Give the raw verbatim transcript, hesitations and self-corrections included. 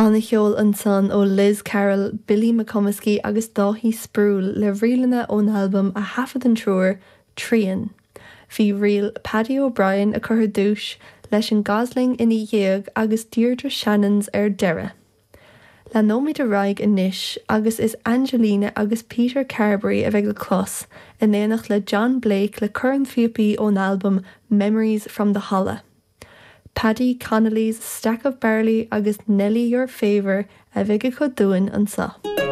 An-cheol ansan ó Liz Carroll, Billy McComiskey agus Dáithí Sproule le ríleanna ón albam a thaifead an triúr Trian. Bhí ríl Paddy O'Brien a chur dúis leis an Gosling ina dhiaidh agus Deirdre Shannons ar deireadh. Leanfaimid ar aghaidh anois agus is Angelina agus Peter Carberry a bheidh le clos in éineacht le John Blake le Corn Phíopaí ón albam Memories from the Holla. Paddy Connolly's Stack of Barley agus Nelly Your Favour a bheidh acu dúinn anseo.